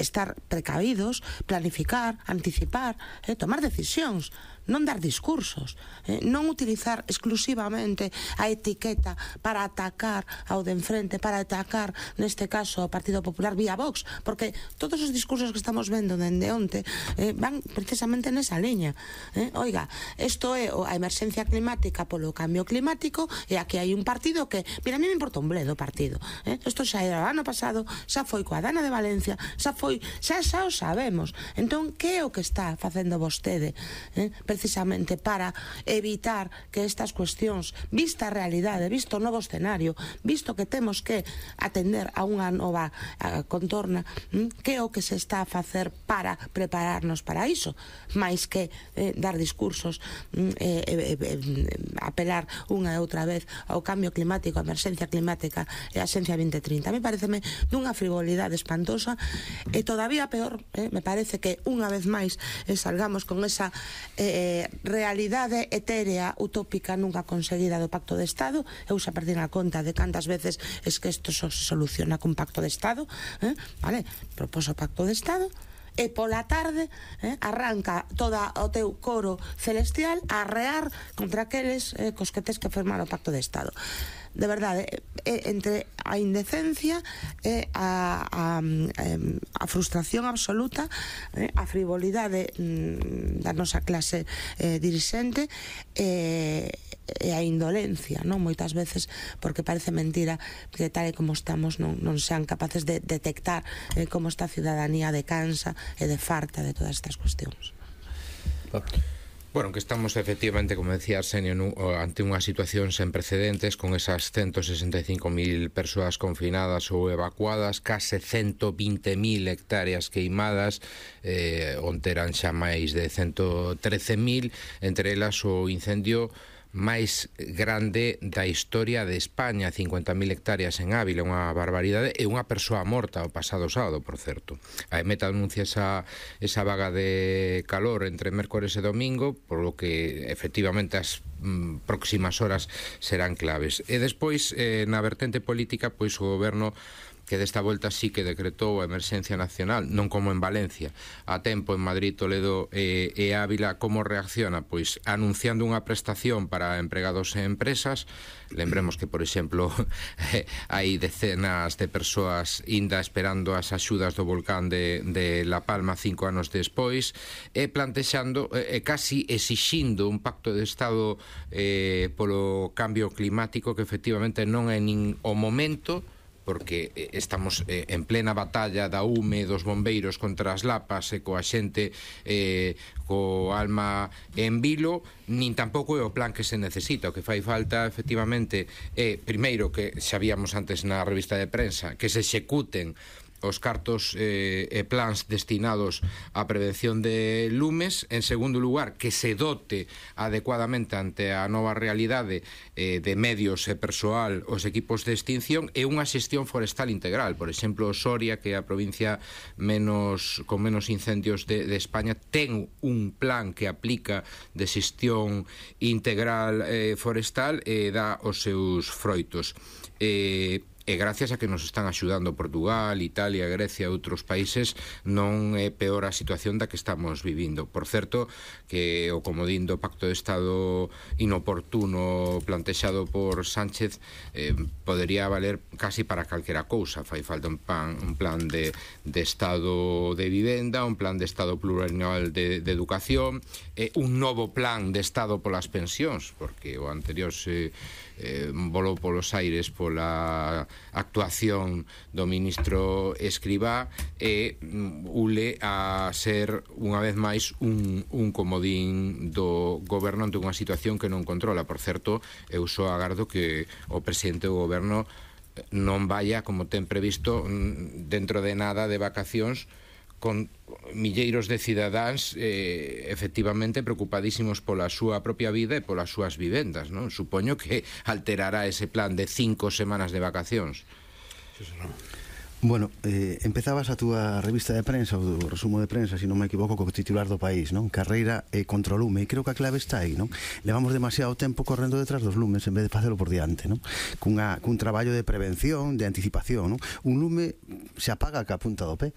estar precavidos, planificar, anticipar, tomar decisións, non dar discursos, non utilizar exclusivamente a etiqueta para atacar ao de enfrente, para atacar, neste caso, ao Partido Popular vía Vox, porque todos os discursos que estamos vendo dende onte van precisamente nesa liña. Oiga, isto é a emerxencia climática polo cambio climático, e aquí hai un partido que, mira, a mí me importa un bledo o partido. Isto xa era o ano pasado, xa foi coa Dana de Valencia, xa o sabemos. Entón, que é o que está facendo vostede precisamente para evitar que estas cuestións, vista a realidade, visto o novo escenario, visto que temos que atender a unha nova contorna, que é o que se está a facer para prepararnos para iso, máis que dar discursos, apelar unha e outra vez ao cambio climático, a emerxencia climática e a Xencia 2030. A mí pareceme dunha frivolidade espantosa, e todavía peor, me parece que unha vez máis salgamos con esa realidade etérea, utópica, nunca conseguida do Pacto de Estado. Eu xa perdín a conta de cantas veces es que isto só se soluciona con Pacto de Estado, vale, proposo Pacto de Estado, e pola tarde arranca toda o teu coro celestial a arrear contra aqueles cos que tes que firmar o Pacto de Estado. De verdade, entre a indecencia e a frustración absoluta, a frivolidade da nosa clase dirixente e a indolencia, non? Moitas veces, porque parece mentira que tal e como estamos non sean capaces de detectar como esta ciudadanía de cansa e de farta de todas estas cuestións. Bueno, que estamos efectivamente, como decía Arsenio, ante unha situación sen precedentes, con esas 165.000 persoas confinadas ou evacuadas, case 120.000 hectáreas queimadas, onde eran xa máis de 113.000, entre elas o incendio máis grande da historia de España, 50.000 hectáreas en Ávila, unha barbaridade, e unha persoa morta o pasado sábado, por certo. A EMET anuncia esa vaga de calor entre mércores e domingo, por lo que efectivamente as próximas horas serán claves. E despois, na vertente política, pois o goberno, que desta volta sí que decretou a emerxencia nacional, non como en Valencia, a tempo en Madrid, Toledo e Ávila. Como reacciona? Pois anunciando unha prestación para empregados e empresas. Lembremos que, por exemplo, hai decenas de persoas ainda esperando as axudas do volcán de La Palma 5 anos despois, e plantexando, casi exixindo un pacto de Estado polo cambio climático, que efectivamente non é nin o momento, porque estamos en plena batalla da UME, dos bombeiros contra as lapas, e coa xente co alma en vilo, nin tampouco é o plan que se necesita. O que fai falta, efectivamente, é, primeiro, que xa víamos antes na revista de prensa, que se executen os cartos e plans destinados á prevención de lumes. En segundo lugar, que se dote adecuadamente ante a nova realidade de medios e persoal os equipos de extinción, e unha xestión forestal integral. Por exemplo, Soria, que é a provincia con menos incendios de España, ten un plan que aplica de xestión integral forestal e dá os seus froitos. E gracias a que nos están axudando Portugal, Italia, Grecia e outros países, non é peor a situación da que estamos vivindo. Por certo, que o comodín do Pacto de Estado inoportuno plantexado por Sánchez podería valer casi para calquera cousa. Fai falta un plan de Estado de vivenda, un plan de Estado plurianual de educación, un novo plan de Estado polas pensións, porque o anterior se volou polos aires pola actuación do ministro Escribá, e ule a ser unha vez máis un comodín do goberno ante unha situación que non controla. Por certo, eu só agardo que o presidente do goberno non vaya, como ten previsto, dentro de nada de vacacións, con milleiros de cidadáns efectivamente preocupadísimos pola súa propia vida e polas súas vivendas, non? Supoño que alterará ese plan de 5 semanas de vacacións. Bueno, empezabas a túa revista de prensa, o resumo de prensa, se non me equivoco, co titular do País, non? Carreira contra o lume, e creo que a clave está aí, non? Levamos demasiado tempo correndo detrás dos lumes en vez de facelo por diante, non? Cun traballo de prevención, de anticipación, non? Un lume se apaga ca punta do pé.